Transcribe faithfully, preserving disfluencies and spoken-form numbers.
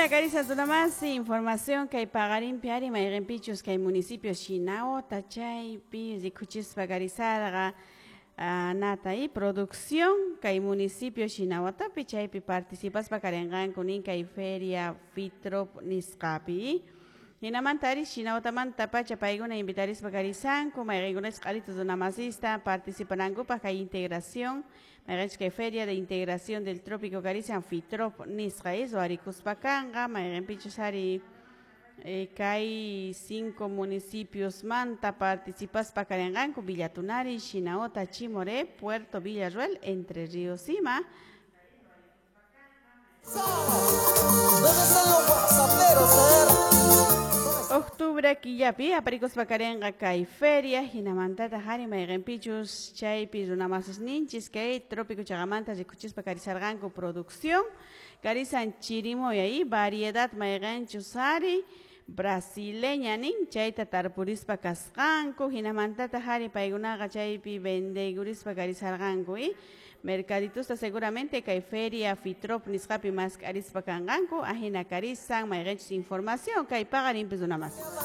Ajina karisa runamasi información kay paqarinpi ari mayqinpichus kay municipio Shinahota chaypi rikuchispa karisarqa nata y producción kay municipio Shinaotapi chaypi participaspa karinqanku nin kay feria Fitrop nisqapi. Hinamanta ari Shinaotamanta pacha paykuna invitarispa karisanku mayqinkunachus q'aritu runamasista participanankupaq kay integración mayqinchus kay feria de integración del trópico karisan Fitrop nisqa ruwarikuspa kanqa mayqinpichus ari eh, kay cinco municipios manta participaspa karinqanku Villa Tunari, Shinahota, Chimoré, Puerto Villarroel, Entre Ríos ima. ¿Dónde están los whatsapperos? A ver. Octubre killapi aparikuspa karinqa kay feria hinamantata ari mayqinpichus chaypi runamasisninchis kay trópico chaqamanta rikuchispa karisarqanku producción karisan chirimoya y variedad mayqinchus ari brasileña nin chayta tarpurispa kasqanku hinamantata ari paykunaqa chaypi vendeykurispa karisarqanku y mercaditusta seguramente kay feria Fitrop nisqapi mask'arispa kanqanku ajina karisan mayqinchus información kay paqarinpis runamas.